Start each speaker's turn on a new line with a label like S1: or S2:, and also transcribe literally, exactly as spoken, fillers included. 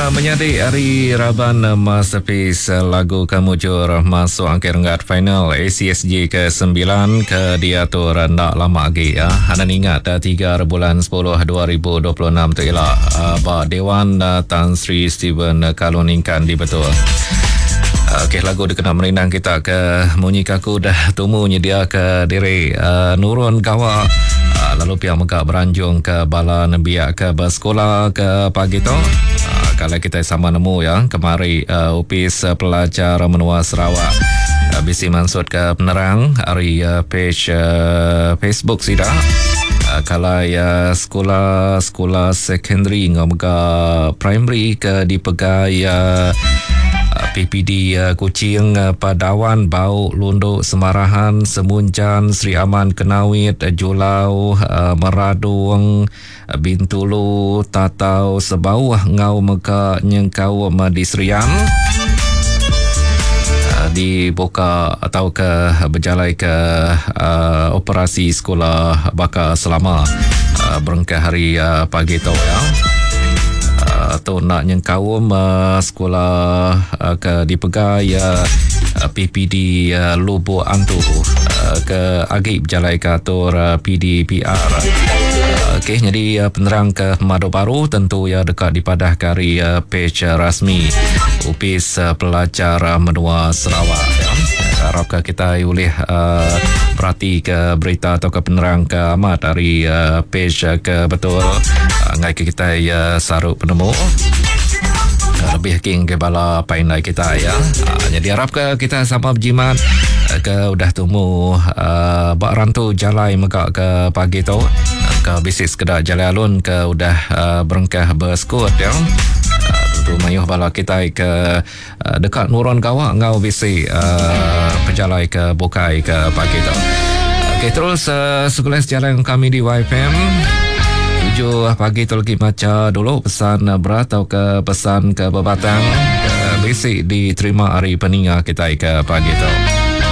S1: Menyadi ari raban Masterpiece lagu ke mujur masuk angkat renggat final A C S G ke sembilan ke diatur enda lama lagi ya. Anda ingat tiga bulan sepuluh dua ribu dua puluh enam tu ialah ba Dewan Tan Sri Stephen Kalong Ningkan di Betul. Okey, lagu dikena merindang kita ke munyi kaku dah tumu nyedia ke diri uh, nurun gawa uh, lalu pihak mega beranjung ke bala nembiak ke bersekolah ke pagi tu. Uh, kalau kita sama nemu ya kemari uh, Opis Pelajar Menua Sarawak uh, bisi mansut ke penerang hari uh, page uh, Facebook sida. Uh, kalau ya sekolah-sekolah secondary ngau mega primary ke dipegai uh, P P D uh, Kuching, uh, Padawan, Bau, Lunduk, Semarahan, Semunjan, Sri Aman, Kenawit, uh, Julau, uh, Meradung, uh, Bintulu, Tatau, Sebauh, Ngau Mega, Nyengkau, di Serian. Uh, dibuka atau ke berjalai ke uh, operasi sekolah bakal selama uh, berengkah hari uh, pagi tu ya. Atau nak nyengkaum uh, sekolah uh, ke dipegai uh, P P D uh, Lubuk Antu uh, ke agi berjalai ke atur uh, P D P R. Uh, Okey, jadi uh, penerang ke Madu Baru tentu ya dekat dipadah kari uh, page uh, rasmi Opis uh, Pelajar Menua Sarawak ya. Harapkan kita boleh uh, perhati ke berita atau ke penerang ke amat dari uh, page uh, ke betul uh, ngai ke kita uh, saruk penemu uh, lebih king ke bala painai kita ya. Uh, jadi harap ke kita sama berjimat uh, ke udah tumu uh, bak rantu jalai megak ke pagi tu uh, ke bisik sekedar jalai alun ke udah uh, berengkah bersekut ya. Tu mayuh bala kita ke uh, dekat Nurun Gawak ngau bisi uh, pejalai ke Bukai ke pagi tu. Okey, terus uh, sekolah jalan kami di Y F M. Tujuh pagi tu lagi baca dulu pesan berat atau ke pesan ke berbatang ke bisi diterima hari peninga kita ke pagi tu.